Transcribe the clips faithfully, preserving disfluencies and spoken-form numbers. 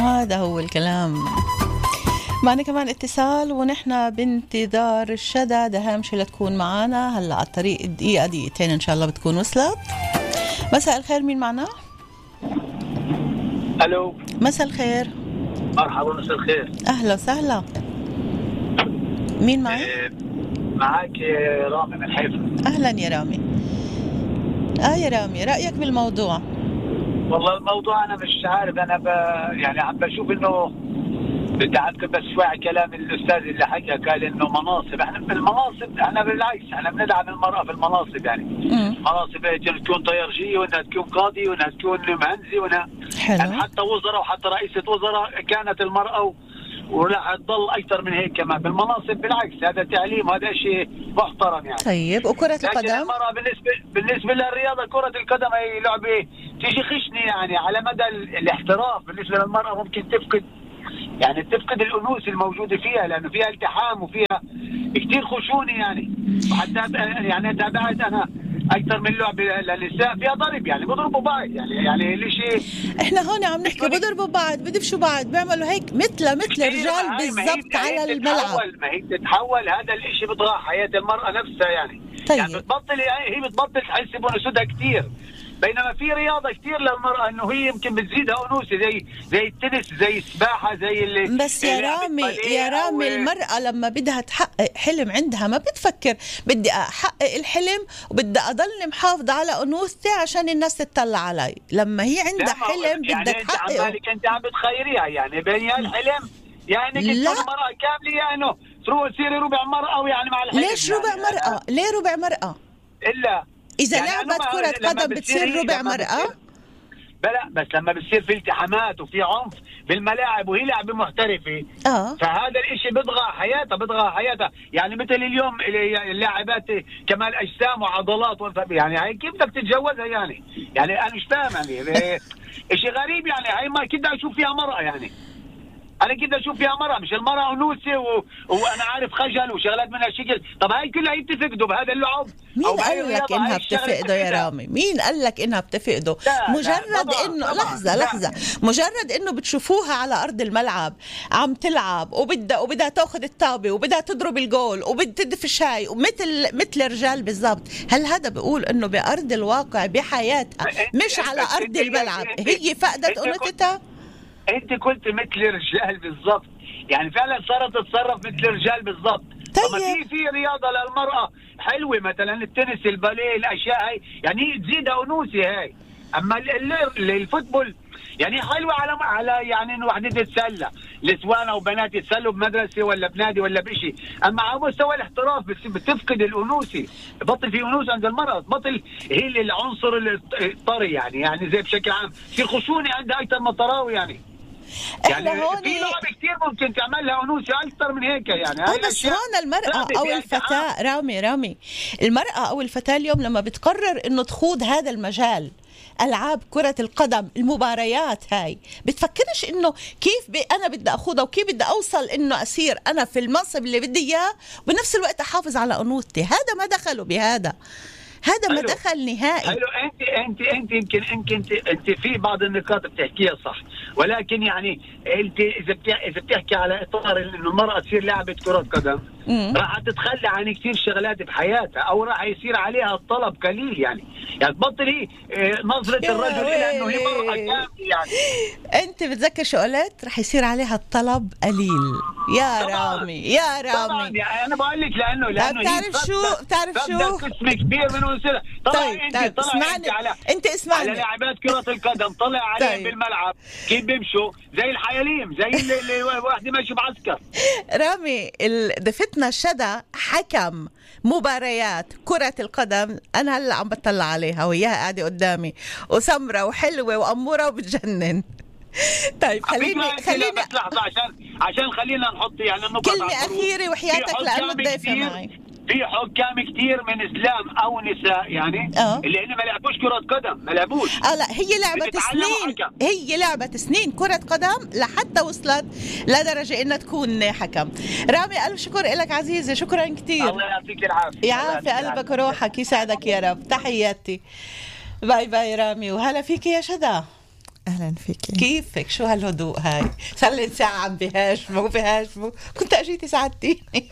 هذا هو الكلام. معنا كمان اتصال ونحن بانتظار الشدى دهامش لتكون معنا هلا على الطريق دقيقة دقيقتين إن شاء الله بتكون وصلت. مساء الخير، مين معنا؟ ألو. مساء الخير. مرحبا، مساء الخير. أهلا وسهلا. مين معي؟ معك رامي من حيفا. أهلا يا رامي. آه يا رامي، رأيك بالموضوع؟ والله الموضوع أنا مش عارف، أنا ب... يعني عم بشوف إنه بدي أعقب بس شوي على كلام الأستاذ اللي حكى، قال إنه مناصب. إحنا بالمناصب إحنا بالعكس إحنا بندعم المرأة في المناصب، يعني مناصب تكون طيارجية وإنها تكون قاضي وإنها تكون مهندسة وإنها يعني حتى وزراء وحتى رئيسة وزراء كانت المرأة و... وراح تضل أكثر من هيك كمان بالمناصب. بالعكس هذا تعليم، هذا شيء محترم يعني. طيب وكرة القدم؟ لكن المرأة بالنسبة بالنسبة للرياضة كرة القدم هي لعبة تيجي خشنة يعني على مدى الاحتراف. بالنسبة للمرأة ممكن تفقد يعني تفقد الأنوثة الموجودة فيها، لأنه فيها التحام وفيها كتير خشونة يعني. وحتى يعني تابعت أنا أكثر من لعبة للنساء فيها ضرب، يعني بضربوا بعض يعني يعني ليش إحنا هون عم نحكي بضربوا بعض، بدفشوا بعض، بيعملوا هيك مثل مثل رجال بالضبط على الملعب. ما هي تتحول، هذا الإشي بضيع حياة المرأة نفسها يعني. طيب. يعني بتبطل هي بتبطل تحس بأنوثتها كتير، بينما في رياضة كتير للمرأة إنه هي يمكن بتزيدها أنوثة زي زي التنس زي السباحة زي اللي بس يا رامي يا رامي المرأة لما بدها تحقق حلم عندها ما بتفكر بدي أحقق الحلم وبدي أضل محافظة على أنوثتي عشان الناس تطلع علي. لما هي عندها حلم يعني بدها تحققه. يعني أنت عم بتخيريها يعني بين الحلم يعني كنت المرأة كاملة يعني تروح تصيري ربع مرأة ويعني مع الحلم. ليش ربع يعني مرأة؟ ليه ربع مرأة؟ إلا إذا يعني لعبت كرة قدم بتصير ربع مرأة؟ بلا بس لما بتصير في التحامات وفي عنف بالملاعب وهي لعبة محترفة آه. فهذا الاشي بضغى حياتها بضغى حياتها يعني مثل اليوم اللاعبات كمال اجسام وعضلات يعني هاي كيف بدك تتجوزها يعني يعني انا مش فاهم يعني اشي غريب يعني. هاي ما كده اشوف فيها مرأة يعني، انا كده اشوف فيها مرأة مش المرأة انوثة و... وانا عارف خجل وشغلات من هالشكل. طب هاي كلها هي بتفقده بهذا اللعب. مين قال لك انها بتفقده يا رامي؟ مين قال لك انها بتفقده؟ مجرد انه لحظة لحظة مجرد انه بتشوفوها على ارض الملعب عم تلعب وبدها وبدها تاخذ الطابة وبدها تضرب الجول وبدها تدفش هاي ومثل مثل الرجال بالضبط. هل هذا بيقول انه بارض الواقع بحياتها مش على ارض الملعب هي فقدت انوثتها؟ انت قلت مثل الرجال بالضبط، يعني فعلا صارت تتصرف مثل الرجال بالضبط. طيب. طب في في رياضه للمراه حلوه مثلا التنس الباليه الاشياء هاي يعني تزيدها انوثه هاي. اما الفوتبول يعني حلوه على على يعني انه وحده تتسلى نسوان او بنات يتسلوا بمدرسه ولا بنادي ولا بشيء. اما على مستوى الاحتراف بتفقد الانوثه، بطل في انوثه عند المراه، بطل هي العنصر الطري يعني يعني زي بشكل عام في خشونه عندها اكثر من الطراوه يعني. يعني في لعب كثير ممكن تعملها أنوثة أكثر من هيك يعني. هاي بس هون المرأة أو الفتاة رامي رامي المرأة أو الفتاة اليوم لما بتقرر إنه تخوض هذا المجال ألعاب كرة القدم المباريات هاي بتفكرش إنه كيف بي أنا بدي أخوضها وكيف بدي أوصل إنه أصير أنا في المنصب اللي بدي إياه وبنفس الوقت أحافظ على أنوثتي. هذا ما دخلوا بهذا، هذا ما دخل نهائي. حلو انت انت انت يمكن يمكن انت انت في بعض النقاط بتحكيها صح، ولكن يعني انت اذا اذا بتحكي على اطار انه المراه تصير لاعبه كره قدم راح تتخلى عن كثير شغلات بحياتها او راح يصير عليها الطلب قليل يعني يعني تبطل هي نظره الرجل الى انه هي مراه كامله يعني. انت بتذكر شو قلت؟ راح يصير عليها الطلب قليل يا رامي يا رامي. طبعا يعني انا بقول لك لانه لانه بتعرف شو بتعرف شو قسم كبير من وسيله. طلع طيب انت طيب طلع اسمعني انت على انت اسمعني على لاعبات كره القدم طلع عليهم طيب. بالملعب كيف بيمشوا زي الحياليم زي اللي, اللي واحد ماشي بعسكر. رامي ضيفتنا شدى حكم مباريات كرة القدم، أنا هلأ عم بطلع عليها وياها قاعدة قدامي وسمرة وحلوة وأمورة وبتجنن. طيب خليني خليني لحظة عشان عشان خلينا نحط يعني النقطة كلمة أخيرة وحياتك لأنه الضيفة معي. في حكام كتير من اسلام او نساء يعني أه. اللي هن ما لعبوش كرة قدم ما لعبوش اه لا هي لعبة سنين حكم. هي لعبة سنين كرة قدم لحتى وصلت لدرجة انها تكون حكم. رامي الف شكر لك عزيزي، شكرا كتير. الله يعطيك العافية. يعافي قلبك وروحك يسعدك يا رب. تحياتي. باي باي رامي وهلا فيك يا شدى. أهلا فيكي. كيفك؟ شو هالهدوء هاي؟ صار لي ساعة عم بهاجموا بهاجموا كنت أجيتي ساعدتيني.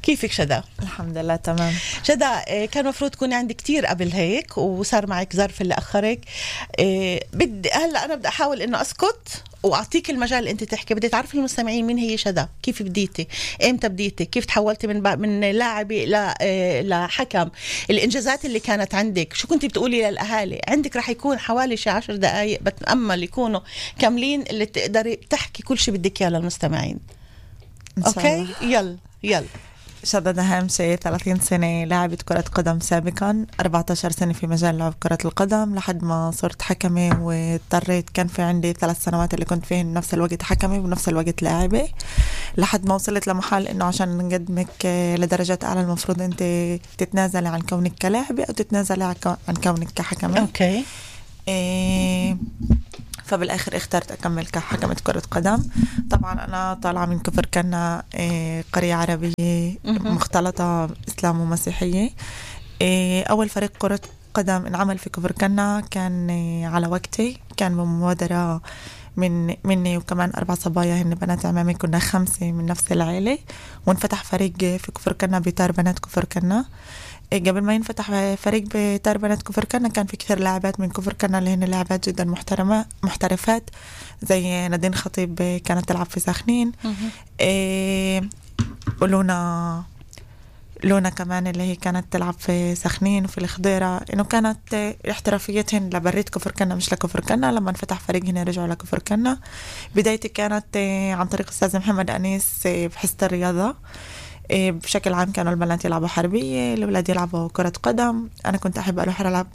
كيفك شدا؟ الحمد لله تمام. شدا كان مفروض تكوني عندي كتير قبل هيك وصار معك ظرف اللي أخرك. بدي هلا أنا بدي أحاول إنه أسكت واعطيك المجال اللي انت تحكي. بدي تعرفي المستمعين مين هي شدا، كيف بديتي، امتى بديتي، كيف تحولتي من من لاعبه ل لحكم، الانجازات اللي كانت عندك، شو كنتي بتقولي للاهالي. عندك رح يكون حوالي شي عشر دقائق بتامل يكونوا كاملين اللي تقدري تحكي كل شيء بدك اياه للمستمعين. اوكي يلا يلا. شدا دهامشي ثلاثين سنة لاعبة كرة قدم سابقا، أربعة عشر سنة في مجال لعب كرة القدم لحد ما صرت حكمة واضطريت. كان في عندي ثلاث سنوات اللي كنت فيهن نفس الوقت حكمة ونفس الوقت لاعبة لحد ما وصلت لمحل إنه عشان نقدمك لدرجات أعلى المفروض أنت تتنازلي عن كونك كلاعبة أو تتنازلي عن كونك كحكمة. أوكي. إيه فبالآخر اخترت أكمل كحكمة كرة قدم. طبعا أنا طالعة من كفر كنا قرية عربية مختلطة إسلام ومسيحية. أول فريق كرة قدم انعمل في كفر كنا كان على وقتي، كان بمبادرة من مني وكمان أربع صبايا هن بنات عمامي، كنا خمسة من نفس العائلة، وانفتح فريق في كفر كنا بتار بنات كفر كنا. قبل ما ينفتح فريق بتار بنات كفر كنا كان في كثير لاعبات من كفر كنا اللي هن لاعبات جدا محترمة محترفات، زي نادين خطيب كانت تلعب في سخنين، إيه ولونا لونا كمان اللي هي كانت تلعب في سخنين وفي الخضيرة. إنه كانت احترافيتهن لبريد كفر كنا مش لكفر كنا. لما انفتح فريق هنا رجعوا لكفر كنا. بدايتي كانت عن طريق أستاذ محمد أنيس بحصة الرياضة. بشكل عام كانوا البنات يلعبوا حربية، الأولاد يلعبوا كرة قدم. أنا كنت أحب أروح ألعب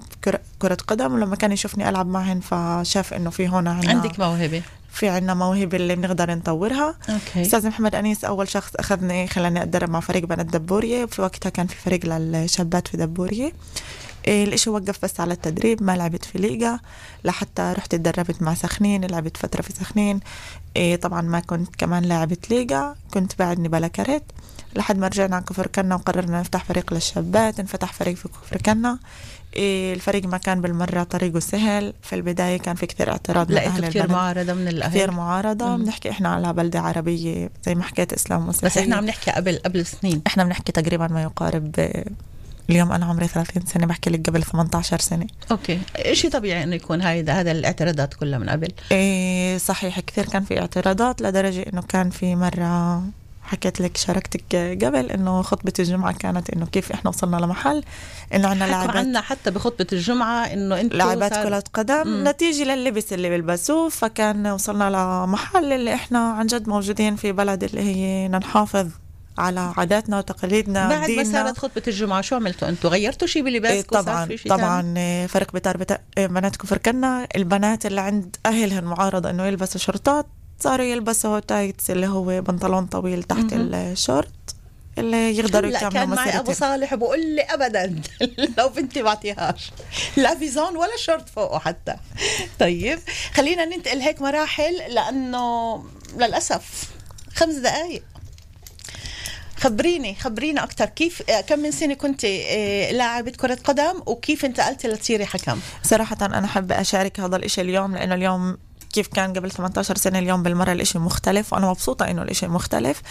كرة قدم، ولما كان يشوفني ألعب معهن فشاف إنه في هون عندك موهبة، في عنا موهبة اللي بنقدر نطورها. أوكي. أستاذ محمد أنيس أول شخص أخذني خلاني أتدرب مع فريق بنات دبورية، وفي وقتها كان في فريق للشابات في دبورية. الاشي وقف بس على التدريب، ما لعبت في ليغا لحتى رحت اتدربت مع سخنين، لعبت فترة في سخنين. طبعا ما كنت كمان لاعبت ليغا، كنت بعدني بلا كارت لحد ما رجعنا عن كفر كنا وقررنا نفتح فريق للشابات. انفتح فريق في كفر كنا. الفريق ما كان بالمرة طريقه سهل، في البداية كان في كثير اعتراض من أهل كثير معارضة من الأهل، كثير معارضة. بنحكي إحنا على بلدة عربية زي ما حكيت إسلام مسيحية، بس إحنا عم نحكي قبل قبل سنين. إحنا بنحكي تقريبا ما يقارب، اليوم أنا عمري ثلاثين سنة، بحكي لك قبل ثمانية عشر سنة. أوكي. إشي طبيعي إنه يكون هذا هذا الاعتراضات كلها من قبل. إيه صحيح، كثير كان في اعتراضات لدرجة إنه كان في مرة حكيت لك شاركتك قبل إنه خطبة الجمعة كانت إنه كيف إحنا وصلنا لمحل إنه عنا لاعبات عنا حتى بخطبة الجمعة إنه أنتوا لاعبات كرة قدم مم. نتيجة لللبس اللي بيلبسوه. فكان وصلنا لمحل اللي إحنا عن جد موجودين في بلد اللي هي نحافظ على عاداتنا وتقاليدنا. بعد ما صارت خطبة الجمعة شو عملتوا أنتوا؟ غيرتوا شيء بلباسكم؟ طبعا طبعا فرق بتار بتا... بنات كفر كنا البنات اللي عند أهلهن معارضة إنه يلبسوا شرطات صاروا يلبسوا تايتس اللي هو بنطلون طويل تحت الشورت اللي يقدروا يكملوا مسيرتهم. كان معي أبو صالح بقول لي أبدا لو بنتي بعطيهاش لا فيزون ولا شورت فوقه حتى. طيب خلينا ننتقل هيك مراحل لأنه للأسف خمس دقايق. خبريني خبرينا أكتر، كيف كم من سنة كنت لاعبة كرة قدم وكيف انتقلتي لتصيري حكم؟ صراحة أنا حابة أشارك هذا الإشي اليوم، لأنه اليوم كيف كان قبل ثمانية عشر سنة اليوم بالمرة الاشي مختلف، وأنا مبسوطة إنه الاشي مختلف.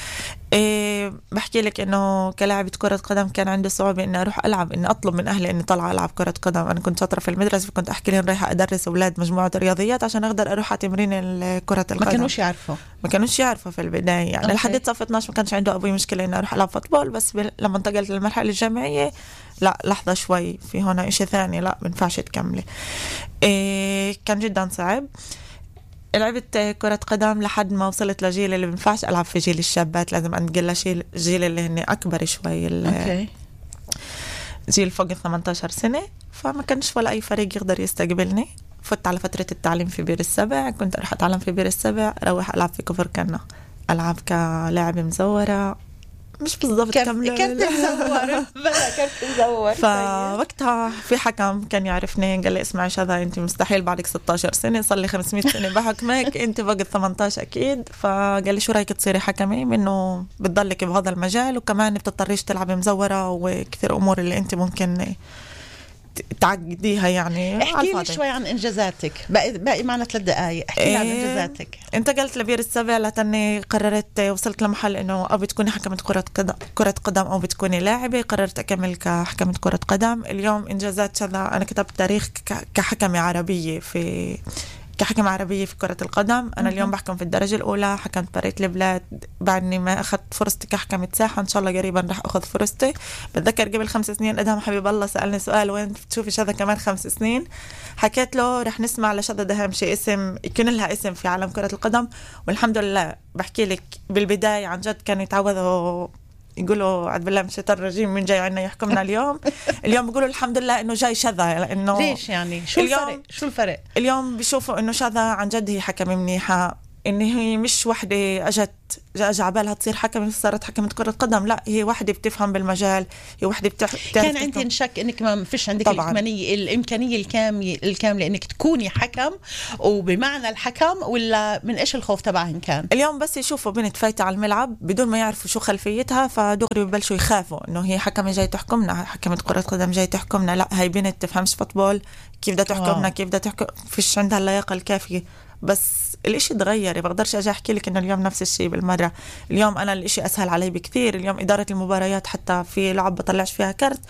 إيه بحكي لك إنه كلاعبة كرة قدم كان عندي صعوبة إني أروح ألعب، إني أطلب من أهلي إني طلع ألعب كرة قدم. أنا كنت شاطرة في المدرسة، فكنت أحكي لهم رايحة أدرس أولاد مجموعة رياضيات عشان أقدر أروح على تمرين كرة القدم. ما كانوش يعرفوا ما كانوش يعرفوا في البداية يعني. لحد صف اثناشر ما كانش عنده أبوي مشكلة إني أروح ألعب فوتبول، بس لما انتقلت للمرحلة الجامعية لا لحظة شوي في هنا إشي ثاني، لا منفعش تكملي. إيه كان جدا صعب. لعبت كرة قدم لحد ما وصلت لجيل اللي بنفعش ألعب في جيل الشابات، لازم أنقل لجيل جيل اللي هني أكبر شوي، أوكي. جيل فوق ثمانية عشر سنة. فما كانش ولا أي فريق يقدر يستقبلني. فت على فترة التعليم في بير السبع، كنت أروح أتعلم في بير السبع، أروح ألعب في كفر كنا، ألعب كلاعب مزورة مش بالضبط كاملة كنت مزورة بلا كنت مزور. فوقتها في حكم كان يعرفني، قال لي اسمعي شذا انت مستحيل بعدك ستة عشر سنة، صار لي خمسمية سنة بحكمك، انت فوق ثمانية عشر اكيد. فقال لي شو رايك تصيري حكمة، منه بتضلك بهذا المجال وكمان بتضطريش تلعبي مزورة وكثير امور اللي انت ممكن تعقديها يعني. احكي لي شوي عن انجازاتك، باقي باقي معنا ثلاث دقائق، احكي لي عن انجازاتك. انتقلت لبير السبع لتني قررت وصلت لمحل انه او بتكوني حكمة كرة قدم كرة قدم او بتكوني لاعبة. قررت اكمل كحكمة كرة قدم. اليوم انجازات شذا، انا كتبت تاريخ كحكمة عربية في كحكم عربية في كرة القدم. أنا اليوم بحكم في الدرجة الأولى، حكمت بريت البلاد بعدني ما أخذت فرصتي كحكمة ساحة. إن شاء الله قريبا رح أخذ فرصتي. بتذكر قبل خمس سنين أدهم حبيب الله سألني سؤال، وين تشوفي شذا كمان خمس سنين؟ حكيت له رح نسمع لشذا دهامشي اسم يكون لها اسم في عالم كرة القدم. والحمد لله بحكي لك بالبداية عن جد كانوا يتعوذوا يقولوا عد بالله من الشيطان الرجيم من جاي عنا يحكمنا اليوم. اليوم بيقولوا الحمد لله انه جاي شذا، لانه ليش يعني شو الفرق؟ شو الفرق اليوم بيشوفوا انه شذا عن جد هي حكمة منيحة، ان هي مش وحده اجت اجى عبالها تصير حكمة صارت حكمة كرة قدم، لا هي وحده بتفهم بالمجال، هي وحده بتعرف. كان عندي شك انك ما فيش عندك الامكانيه الامكانيه الكامله الكامله انك تكوني حكم، وبمعنى الحكم ولا من ايش الخوف تبعهم كان؟ اليوم بس يشوفوا بنت فايته على الملعب بدون ما يعرفوا شو خلفيتها، فدغري ببلشوا يخافوا انه هي حكمة جاي تحكمنا، حكمة كرة قدم جاي تحكمنا. لا هي بنت تفهمش فوتبول، كيف بدها تحكمنا، كيف بدها تحكم، فيش عندها اللياقه الكافيه. بس الاشي تغير، بقدرش اجي احكي لك انه اليوم نفس الشيء بالمره. اليوم انا الاشي اسهل علي بكثير. اليوم اداره المباريات حتى في لعب بطلعش فيها كرت،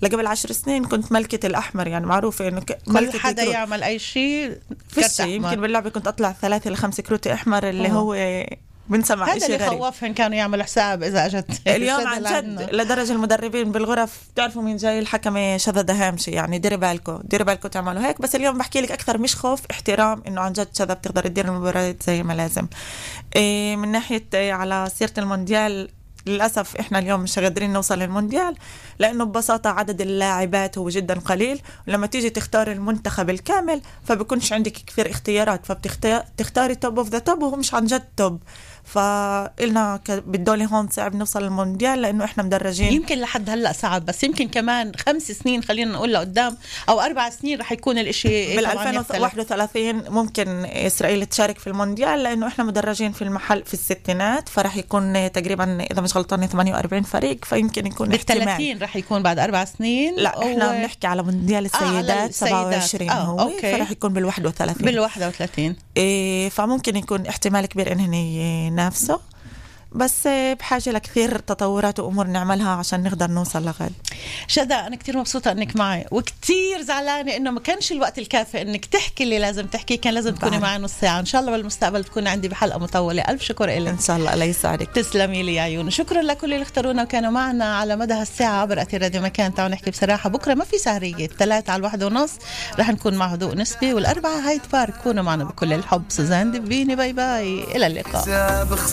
لقبل عشر سنين كنت ملكة الأحمر، يعني معروفة إنه كل حدا يعمل أي شيء كرت أحمر. يمكن باللعبة كنت أطلع ثلاثة لخمسة كروت أحمر اللي أوه. هو بنسمع هذا اللي خوفهم كانوا يعملوا حساب إذا أجت اليوم عن جد لدرجة المدربين بالغرف تعرفوا مين جاي الحكمة شذا دهامشي، يعني ديري بالكو ديري بالكو تعملوا هيك. بس اليوم بحكي لك أكثر مش خوف، احترام، إنه عن جد شذا بتقدر تدير المباريات زي ما لازم. إيه من ناحية إيه على سيرة المونديال، للأسف إحنا اليوم مش قادرين نوصل للمونديال لأنه ببساطة عدد اللاعبات هو جدا قليل، ولما تيجي تختار المنتخب الكامل فبكونش عندك كثير اختيارات، فبتختاري توب اوف ذا توب وهو مش عن جد توب. فقلنا بالدولة هون صعب نوصل للمونديال لأنه إحنا مدرجين. يمكن لحد هلأ صعب، بس يمكن كمان خمس سنين خلينا نقول لقدام أو أربع سنين رح يكون الإشي بالألفين وواحد وثلاثين ممكن إسرائيل تشارك في المونديال، لأنه إحنا مدرجين في المحل في الستينات، فرح يكون تقريبا إذا مش غلطانة ثمانية وأربعين فريق، فيمكن يكون بالثلاثين رح يكون بعد أربع سنين. لا إحنا و... بنحكي على مونديال السيدات آه سبعة وعشرين آه هو أوكي. فرح يكون بالواحد وثلاثين بالواحد وثلاثين إيه، فممكن يكون احتمال كبير إنهن نفسه، بس بحاجة لكثير تطورات وأمور نعملها عشان نقدر نوصل لغد. شذا أنا كتير مبسوطة أنك معي، وكتير زعلانة أنه ما كانش الوقت الكافي أنك تحكي اللي لازم تحكي، كان لازم تكوني معي نص ساعة. إن شاء الله بالمستقبل تكوني عندي بحلقة مطولة. ألف شكر إلك. إن شاء الله الله يسعدك. تسلمي لي يا عيون. شكرا لكل اللي اختارونا وكانوا معنا على مدى هالساعة عبر أثير راديو مكان. تعالوا نحكي بصراحة، بكرة ما في سهرية، الثلاثة على الواحدة ونص رح نكون مع هدوء نسبي، والأربعة هايد بارك. كونوا معنا بكل الحب. سوزان دبيني، باي باي، إلى اللقاء.